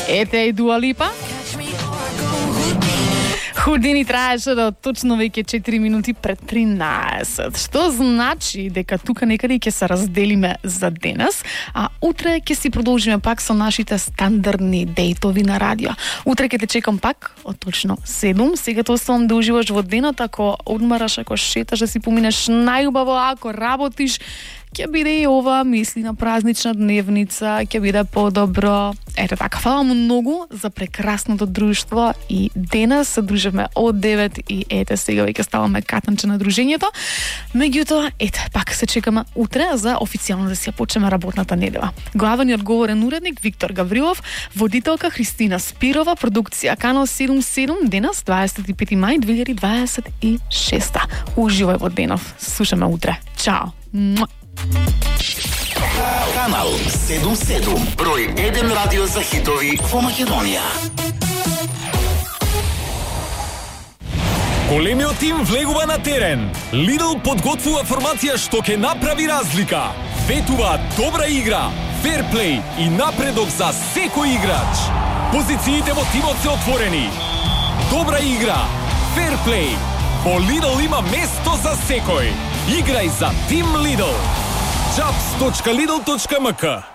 Ете и Дуа Липа. Худини траеше до точно веќе 4 минути пред 13. Што значи дека тука некаде ќе се разделиме за денес, а утре ќе си продолжиме пак со нашите стандардни дейтови на радио. Утре ќе те чекам пак од точно 7. Сега те оставам да уживаш во денот, ако одмараш, ако шеташ, да си поминеш најубаво, ако работиш, ќе биде и ова мисли на празнична дневница, ќе биде подобро. Ето така, фала многу за прекрасното друштво и денес се дружиме од 9 и ете сега веќе ставаме катанче на дружењето. Меѓутоа, ете, пак се чекаме утре за официјално да си ја почнеме работната недела. Главен и одговорен уредник Виктор Гаврилов, водителка Христина Спирова, продукција Канал 77, денес 25 мај 2026. Уживај во денов. Слушаме утре. Чао. Канал 77, број 1 радио за хитови во Македонија. Големиот тим влегува на терен. Lidl подготвува формација што ќе направи разлика. Ветува добра игра, ферплей и напредок за секој играч. Позициите во тимот се отворени. Добра игра, ферплей. Во Lidl има место за секој. Играј за Тим Lidl. Jobs.lidl.mk